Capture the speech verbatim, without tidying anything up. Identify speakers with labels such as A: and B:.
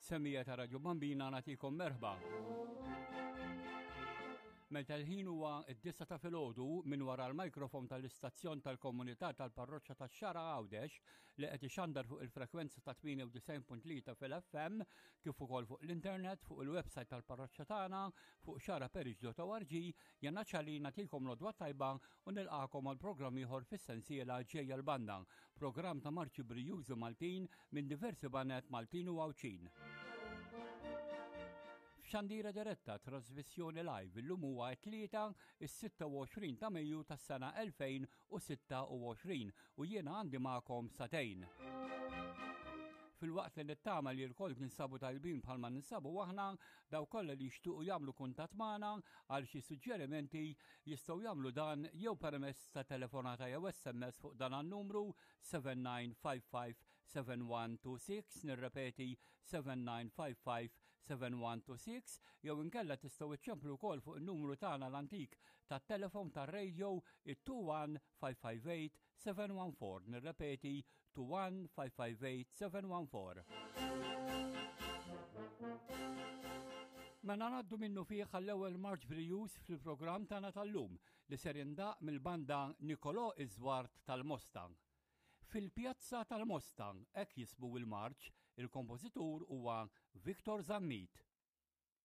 A: Semmiegħa ta' Radio Bambina, nagħtikom merħba. Meta l-ħin huwa d-disgħa ta' filgħodu, minn wara l-mikrofon tal-istazzjon tal-komunità tal-parroċċa tax-Xagħra Għawdex, li qed ixandar fuq il-frekwenza ta' tmienja u disgħin punt tlieta fil-F M, kif ukoll fuq l-internet fuq il-website tal-parroċċa tagħna fuq xagħraparish punt org, jiena Ċali nagħtikom l-għodwa tajba u nilqagħkom għal programm ieħor fis-sensiela Ġejja l-Banda, programm ta' marċi brijużi Maltin minn diversi baned Maltin u Għawdxin. F'xandira diretta, trasmissjoni live, illum huwa t-Tlieta, is-sitta u għoxrin ta' Mejju tas-sena elfejn u sitta u għoxrin, u jiena għandi magħkom sagħtejn. Filwaqt li nittama li lkoll ninsabu tajbin bħalma ninsabu aħna, dawk kollha li jixtuqu jagħmlu kuntatt magħna għal xi suġġerimenti jistgħu jagħmlu dan jew permezz ta' telefonata jew S M S fuq dan an-numru seba' tnejn ħamsa ħamsa seba' wieħed tnejn sitta, nirrepeti, seba' tnejn ħamsa ħamsa seba' wieħed tnejn sitta, jew inkella tistgħu iċċemplu wkoll fuq in-numru tagħna l-antik tat-telefon tar-radio, it-tnejn wieħed ħamsa ħamsa tmien seba' wieħed erba', nirrepeti, tnejn wieħed ħamsa ħamsa tmien seba' wieħed erba'. Mela ngħaddu minnufih għall-ewwel marċ brijuż fil-programm tagħna tal-lum, li ser jindaqq mill-banda Nicolò Iżwart tal-Mosta. Fil-Pjazza tal-Mosta, hekk jismu il-marċ, il-kompożitur huwa Victor Zammit.